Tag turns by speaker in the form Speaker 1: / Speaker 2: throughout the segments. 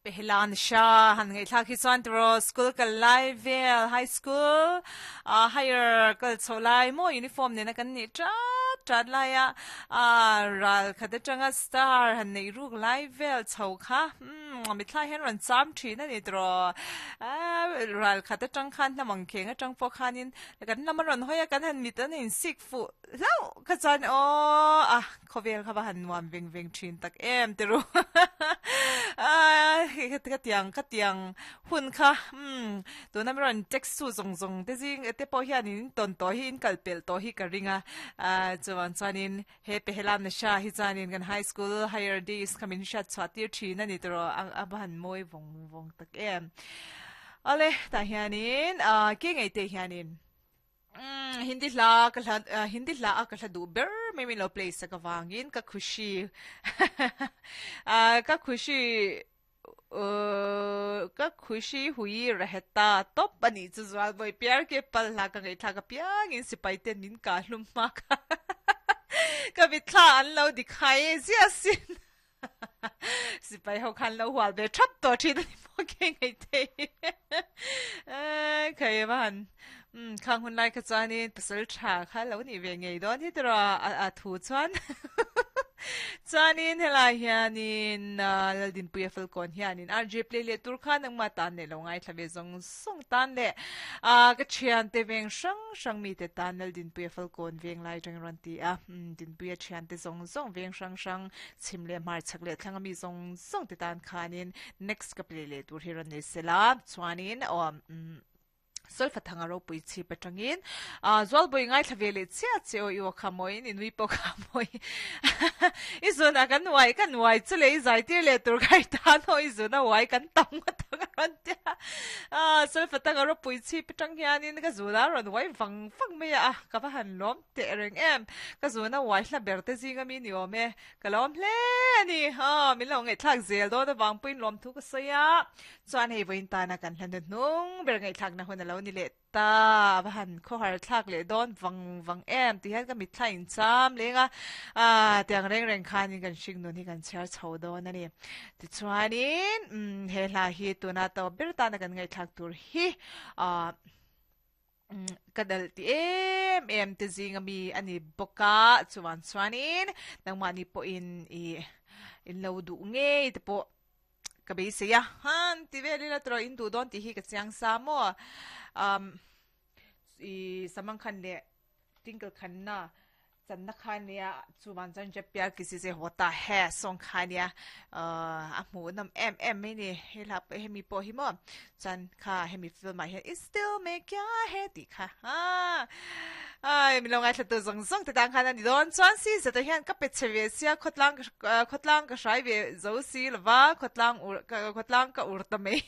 Speaker 1: Pehelan Shah han ngaihthlak hi chuan tiraw school kal lai vel high school ah higher kal chhoh lai maw uniform nena kan nih tat tat lai a ah ral khat atanga star han neih ruk lai vel chho kha umm mitthla hian rawn cham thin a ni tiraw ah ral khat atang khan hnam ang kheng atang pawh khanin kan lam a rawn hawi a kan han mit an insik fuh hlauh kha chuan aw a Khawvel kha va han nuam veng veng thin tak em ti ru. Ka tiang ka tiang hun kha umm tuna mi rawn text tu zawng zawng te zing te pawh hian in tawn tawh hi in kal pelh tawh hi ka ring a. Chuvang chuanin he Pehelam Nasha hi chuanin kan high school higher days kha min hriat chhuah tir thin a ni tawh a va han mawi vawng vawng tak em. Awle tah hianin ke ngei te hianin. Umm Hindi hla ka hla Hindi hla a ka hla duh ber mai min lo play sak avangin ka khushi ah ka khushi uh ka khushi hui raheta tawp a nih chu zual vawi piar ke pal hla ka ngaihthlak apiangin sipai ten min kah hlum hma kha ka mitthla an lo dikhai e ziah sin. Sipai ho khan lo hual ve thap tawh thin a ni maw ke ngei thei. Khai va han um khang hun lai kha chuanin pasal tha kha lo nih ve ngei dawn hi tiraw a a thu chuan. Chuanin helai hianin Laldinpuia Falkawn hianin RJ play leh tur khan engmah tan leh lo ngaithla ve zawng zawng tan leh a ka thiante veng hrang hrang mite tan Laldinpuia Falkawn veng lai atangin rawn ti a Dinpuia thiante zawng zawng veng hrang hrang Chhim leh hmar chhak leh thlang ami zawng zawng te tan khanin next ka play leh tur hi rawn nei sela chuanin aw umm Solfa thanga ropui chhip atangin ah Zualbawi ngaithla ve leh chiah che aw i aw kha mawiin i nui pawh kha mawi i zunah kan uai kan uai chu leh i zai tir leh tur kha i tan aw i zuna uai kan tam ngawt ang a rawn tia ah Solfa thanga ropui chhip atang hianin ka zunah a rawn uai vang vang mai a ka va han lawm Teh reng em, ka zuna uai hla ber te zinga mi ni awm e, ka lawm hle a ni. Aw, min lo ngaihthlak zel dawn avang pawhin lawmthu ka sawi a, chuan hei vawiin tana kan hla hnuhnung ber ngaihthlakna hun a lo ni leh ta, a va han khawhar thlak leh dawn vang vang em ti hian ka mitthla incham leng a, ah tiang reng reng khanin kan hringnun hi kan chhiar chho dawn a ni. Tichuanin, umm he hla hi tuna tawp ber tana kan ngaihthlak tur hi, ah. Ka dal ti em em te zing ami a ni bawk a, chuan chuanin nangmahni pawhin i in lo duh ngei te pawh ka beisei a, han ti vel ila tawh in duh dawn tih hi ka chiang sa maw, um i Samangkhan leh Twinkle Khanna Channa kha nia chuvan chuan Jab Pyar Kisi Se Hota Hai song kha nia a hmuh nawm em em mai ni he hla pawh hemi pawh hi maw chuan kha hemi film ah hian Is Dil Mein Kya Hai tih kha ai min lo ngaithla tu zawng zawng te tan khan a ni dawn chuan si zeta hian ka pe chhe ve sia khawtlang khawtlang ka hrai ve zo si lova khawtlang ur khawtlang ka ur ta mai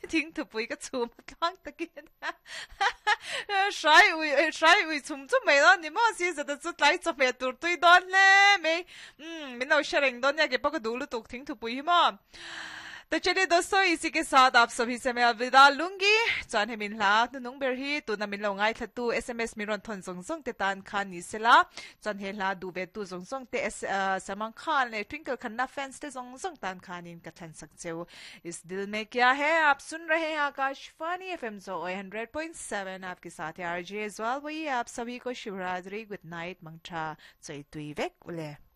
Speaker 1: thingthupui ka chhum a tluang takin. Hrai ui hrai ui chhum chum mai dawn ni maw si zeta chu tlai chawhmeh tur tui dawn hle mai umm min lo hre reng dawn nia keipawh ka duh lutuk thingthupui hi maw To chaliye dosto isi ke saath aap sabhi se main alvida lungi chuan hemi hla hnunung ber hi tuna min lo ngaithla tu sms min rawn thawn zawng zawng te tan khan ni sela chuan he hla duh ve tu zawng zawng te Salman Khan leh Twinkle Khanna fans te zawng zawng tan khanin ka thlan sak cheu Is Dil Mein Kya Hai Aap Sun Rahe Hain Akashvani FM जो 100.7 आपके साथ है RJ ज्वाल वही आप सभी को Shivratri good night मंगठा चैतुई वेक उले।